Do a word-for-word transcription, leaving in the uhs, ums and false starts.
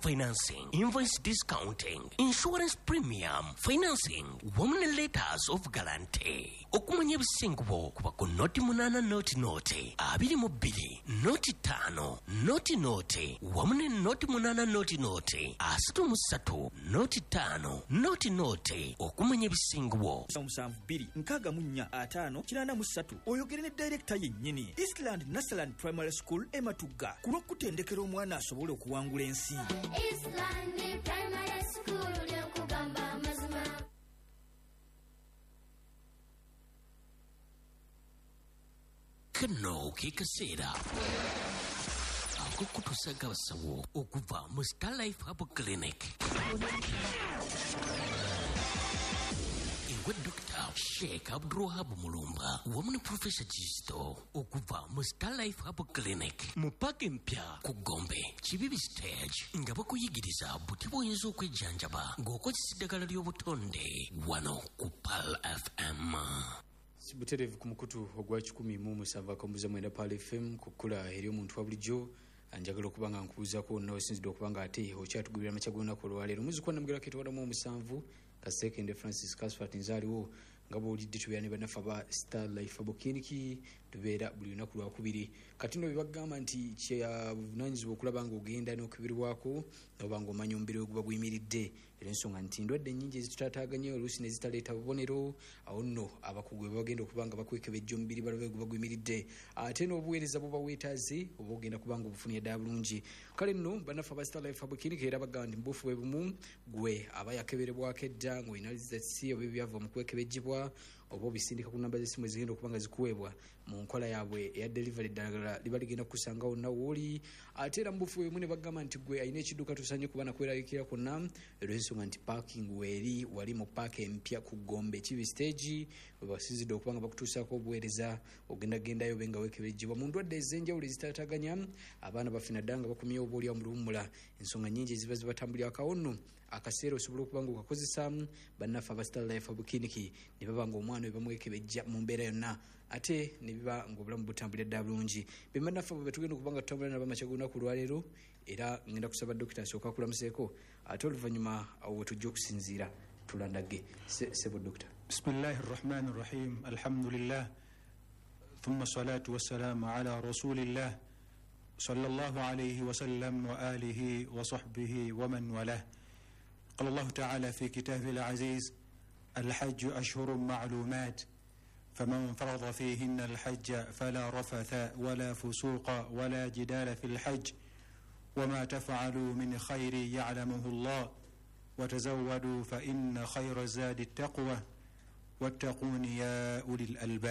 Financing, invoice discounting, insurance premium financing wamu ne letters of guarantee. Okumanya ebisingawo kuba ku noti munaana noti noti abiri mu bbiri noti ttaano noti noti wamu ne noti munaana noti noti asatu mu ssatu noti ttaano noti noti. Okumanya ebisingawo Musanvu bbiri nkaaga mu nnya ataano kinaana mu ssatu oyogere ne director yennyini. Eastland Nasaland Primary School e Matugga ku lw'okutendekera omwana asobole okuwangula ensi. Eastland Primary School ly'okugamba amazima. Kano ke kaseera ak'okutuusaako abasawo okuva mu Starlife Herbal Clinic. Ewa Dokita Sheikh Abdulwahab Mulumba wamu ne Professor Kisto okuva mu Starlife Herbal Clinic mu paaka empya ku Gombe Kibibi Stage nga bakuyigiriza buti bw'oyinza okwejjanjaba ng'okozesa eddagala ly'obutonde wano ku Pearl F M. Butereevu ku mukutu ogwa kikumi mu musanvu akambuza mwenda Pearl F M ku kkula eri omuntu wa bulijjo. Njagala okuba nga nkubuuzaako wonna osinzidde okuba nga ate okyatugubira amakya g'olunaku olwaleero. Muzzukulu Namugera Ketwalamu omusanvu Kasekende Francis Casfat nzaaliwo nga bw'olidde tubeera ne bannaffe aba Star Life Herbal Clinic, tubeera buli lunaku lwakubiri. Kati nno bye bagamba nti kyabuvunaanyizibwa okulaba ng'ogenda n'okubirwako oba ng'omanya omubiri we guba guyimiridde. Era ensonga nti endwadde nnyingi ezitutaataaganya oluusi ne zitaleeta bubonero, awo nno abakugu bwe bagenda okuba nga bakwekebejja omubiri balabe guba guyimiridde, ate n'obuweereza buba weetaaze oba ogenda kuba nga obufunye ddala bulungi. Kale nno bannaffe aba Star Life Herbal Clinic era bagamba nti mu buufu bwe bumu gwe aba yakeberebwako edda ng'olina results oba ebyava mu kwekebejjebwa oba obisindika ku namba z'essimu ezigenda okuba nga zikuweebwa mu nkola yaabwe eya delivery, eddagala liba ligenda kukusanga wonna w'oli. Ate era mu buufu bwe bumu ne bagamba nti gwe alina ekidduka tosaanye kuba nakweraliikirira kwonna olw'ensonga nti parking weeri wali mu paaka empya ku Gombe Kibi Stage we basinzidde okuba nga bakutuusaako obuweereza ogenda gendayo obe nga weekebejjebwa mu ndwadde ez'enjawulo ezitaataaganya abaana baffe naddala nga bakomyewo oba oliawo mu luwummula. Ensonga nnyingi eziba zibatambulirako awo nno akaseera osobola okuba nga okakozesa bannaffe aba Star Life Herbal Clinic ne baba nga omwana we bamwekebejja mu mbeera yonna ate ne biba ng'obulamu butambulira ddala bulungi. Be bannaffe abo be tugenda okuba nga tutambula nabo amakya g'olunaku olwaleero, era ngenda kusaba dokita asooke akulamuseeko ate oluvannyuma awo we tujja okusinziira tulandagge. Ssebo dokita. Bismillahi rrahmani rrahim. Alhamdulillah thumma salatu wassalamu ala rasulillah sallallahu alayhi wasallam wa alihi wa sahbihi wa man walah. قال الله تعالى في كتابه العزيز: الحج أشهر معلومات فمن فرض فيهن الحج فلا رفث ولا فسوق ولا جدال في الحج وما تفعلوا من خير يعلمه الله وتزودوا فإن خير الزاد التقوى واتقون يا أولي الألباب.